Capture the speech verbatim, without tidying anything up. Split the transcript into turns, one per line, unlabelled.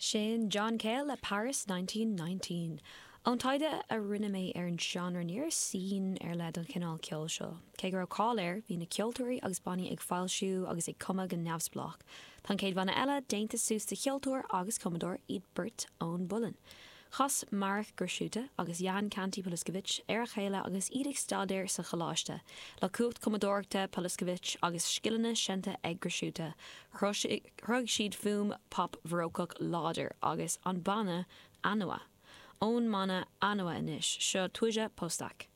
Sin John Cale le Paris nineteen nineteen. Ón taighde a rinne mé ar an seánra, ní raibh scene ar leith don chineál ceoil seo. Cé go raibh cáil air, bhí na ceoltóirí agus bannaí ag foilsiú agus ag cumadh go neamhspleách. Tá an chéad bhanna eile déanta suas de cheoltóir agus cumadóir, iad beirt ón bPolainn. Chas Marek Grechuta agus Jan Kanty Pawliszkiewicz ar a chéile agus iad ag staidéar sa choláiste. Le cumhacht cumadóireachta Pawliszkiewicz agus scileanna seinnte ag Grechuta, chruthaigh siad fuaim pop bharócach láidir agus an banna Anua. Ón mbanna Anua anois, seo Twoja Postak.